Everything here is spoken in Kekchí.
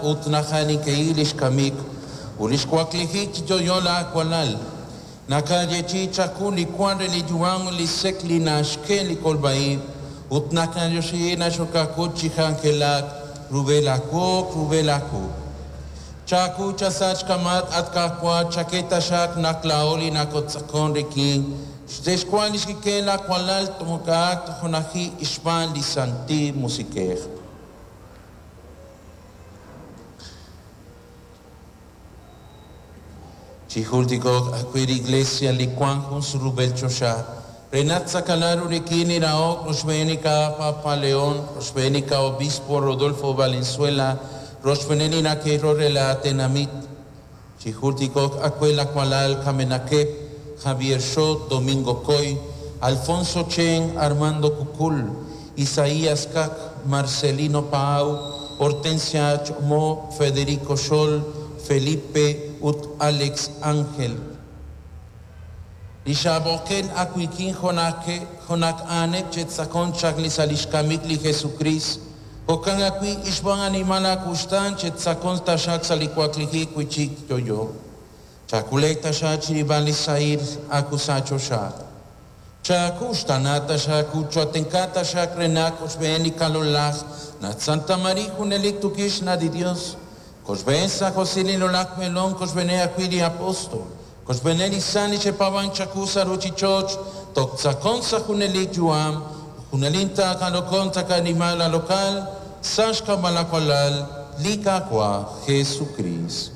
Ut nakanikei lix kamik ut lix waklijik chi yo'yo laawalal. Nakayeechi'i chaku li wank re li yu'am ut li sek li naxke li kolb'a-ib' ut nakayoxi naxokakut chi k'anjelak rub'el aawoq rub'el aakuk. Chaku chasach kamat at Qaawa' chake taxaq naq laa'o li nakotz'aqon rik'in xtexwan lix kik'el laawalal tomokaak tojonaji xb'aan li Santil Musiq'ej. Chijultiko'q ajwi' li Iglesia li wank jun surub'el choxa re naq tz'aqalaq ru rik'in li rahok rochb'eenika Papa León, rochb'eenika Obispo Rodolfo Valenzuela, rochb'een li nake'ro re la tenamit. Chijultiko'q ajwi' lawalal kamenaqeb' Javier Xot, Domingo Coy, Alfonso Chen, Armando Cucul, Isaías Cac, Marcelino Paau, Hortensia Chomo, Federico Xol, Felipe ut Alex Ángel. Li xabokel akuikin jonake jonak anek chetzakon chak li salixkamik li Jesucrist. Jokan akui ixban animal akustan chetzakon tashak salikuakliji kuichik yoyo. Chakulek tasha chiriban li sair akusacho sha. Chakuxtanata xakuchoatenkata xakrenak oxbeni kalolaj nat Santa María junelik tukixna di Dios. Koxben San José lolak melón koxbene akuili apóstol. Koxbeneli sani chepaban chakusa ruchichoch toktzakon sa junelik yuam junelinta kalokon takanimala local sashka malakwalal likakwa Jesucristo.